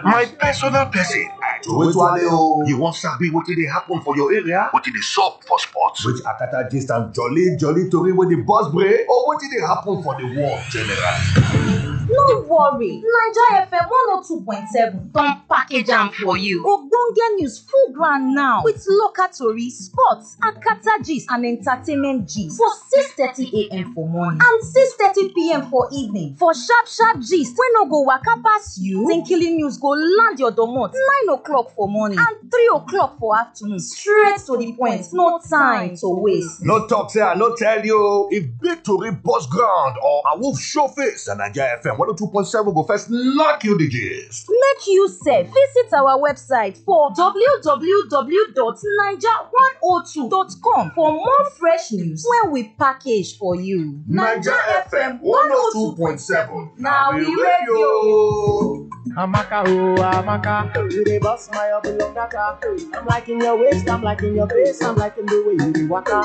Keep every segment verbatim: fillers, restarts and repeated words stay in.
My personal person. I do it well, oh. You wan sabi wetin dey happen for your area? Wetin dey sup for sports? With Akata gist and jolly jolly tori wey dey burst brain, or wetin dey happen for the world generally? No worry, Naija F M one oh two point seven don package am for you. Ogbonge news full ground now with local tori, sports, Akata gist and entertainment gist for six thirty a m for morning and six thirty p m for evening for sharp sharp gist wey no go waka pass you. Tinkily news go land your domot nine o'clock for morning and three o'clock for afternoon, straight to the point, no time to waste. No talk say I no tell you. If big tori burst ground or a wolf show face, na Naija F M one oh two point seven go first knock you the gist. Make you sef visit our website for w w w dot naija one oh two dot com for more fresh news wey we package for you. Naija F M one oh two point seven, na we radio. Amaka, oh, Amaka, you dey bust my up long data. I'm liking your waist, I'm liking your face, I'm liking the way you dey waka.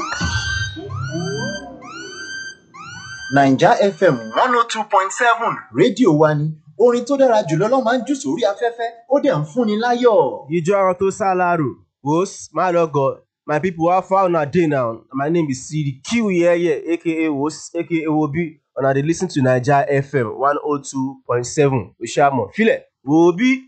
Naija F M one oh two point seven, rédíò wa ni. Orin tó dára jùlọ ló máa ń jù sórí afẹ́fẹ́, ó dẹ̀ ń fúnni láyọ̀. Ijó àwọn tó sálárò, wòs, má lọ́gọ̀. My people, how far una dey now? My name is Sidi Q here, here, A K A Wos, A K A Wobi. Una dey listen to Naija F M one oh two point seven. Oshamo, feel it. Wobi.